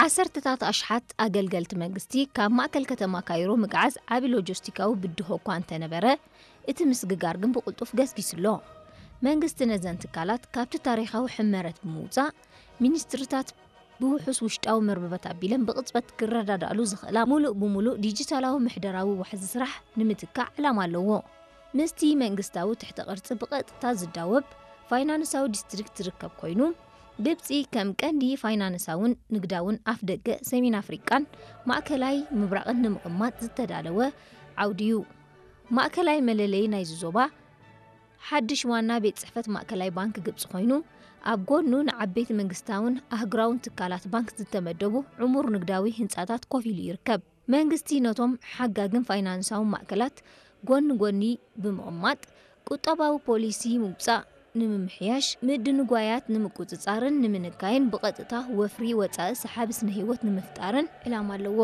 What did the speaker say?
ዓሰርተታት ኣሽሓት ኣገልገልቲ መንግስቲ ካብ ማእከል ከተማ ካይሮ ምግዓዝ ዓቢ ሎጂስቲካዊ ብድሆ እኳ እንተነበረ፣ እቲ ምስግጋር ግን ብቕልጡፍ ገስጊሱ ኣሎ። መንግስቲ ነዘን ትካላት ካብቲ ታሪኻዊ ሕመረት ብምውጻእ፣ ሚኒስትሪታት ብውሑስ ውሽጣዊ መርበባት ኣቢለን ብቕጽበት ክረዳዳእሉ ዝኽእላ፣ ምሉእ ብምሉእ ዲጂታላዊ ምሕደራዊ ዋሕዚ ስራሕ ንምትካእ ዕላማ ኣለዎ። ምስቲ መንግስታዊ ትሕተ ቅርጺ ብቐጥታ ዝዳወብ ፋይናንሳዊ ዲስትሪክት ዝርከብ ኮይኑ፣ ግብጺ ከም ቀንዲ ፋይናንሳውን ንግዳውን ኣፍደገ ሰሜን ኣፍሪቃን ማእከላይ ምብራቕን ንምቕማጥ ዝተዳለወ ዓውዲ እዩ። ማእከላይ መለለዪ ናይዚ ዞባ ሓድሽ ዋና ቤት ጽሕፈት ማእከላይ ባንክ ግብጺ ኮይኑ፣ ኣብ ጎኑ ንዓበይቲ መንግስታውን ኣህጉራውን ትካላት ባንክ ዝተመደቡ ዕሙር ንግዳዊ ህንጻታት ኮፍ ኢሉ ይርከብ። መንግስቲ ነቶም ሓጋግን ፋይናንሳውን ማእከላት ጎኒ ጎኒ ብምቕማጥ፣ ቁጠባዊ ፖሊሲ ምውጻእ ንምምሕያሽ፣ ምድንጓያት ንምቁጽጻርን ንምንካይን ብቐጥታ ወፍሪ ወጻኢ ሰሓቢ ስነ ህይወት ንምፍጣርን ዕላማ ኣለዎ።